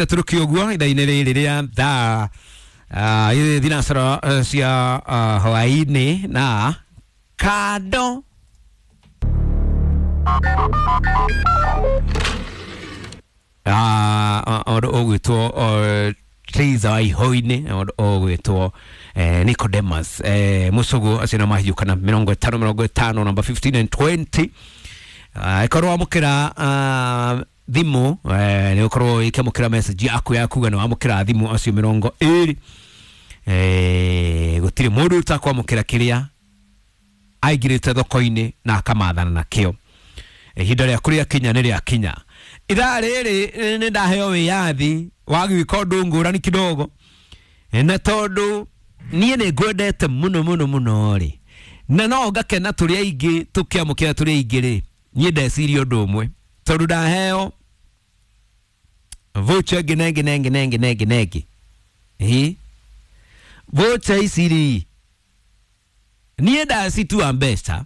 Tũrũki ũguo ithaa-inĩ rĩrĩ rĩa thaa thinacara cia hwaĩ-inĩ na kando ũndũ ũgwĩtwo Teresa wa Ihoinĩ, ũndũ ũgwĩtwo Nicodemus Mũcũgũ, acio nĩ mahiũkana 50 50, namba 15 and 20. Ĩkorwo wamũkĩra thimũ, nĩ ũkorwo ĩkĩamũkĩra message yaku ya kuga nĩ wamũkĩra thimũ acio 20. Gũtirĩ mũndũ ũtakwamũkĩra kĩrĩa aingĩrĩte thoko-inĩ na akamathana nakĩo. Ihinda rĩaku rĩakinya nĩ rĩakinya. Ithaa rĩrĩ nĩ ndaheo wĩyathi wa gwĩka ũndũ ngũrani kidogo, na tondũ niĩ nĩ ngwendete mũno mũno mũno rĩ, na no ngakena tũrĩ aingĩ tũkĩamũkĩra tũrĩ aingĩ rĩ, niĩ ndeciria ũndũ ũmwe, tondũ ndaheo voucher ĩngĩ na ĩngĩ na ĩngĩ na ĩngĩ na ĩngĩ na ĩngĩ. Ĩ voucher ici rĩ, niĩ ndacitua mbeca.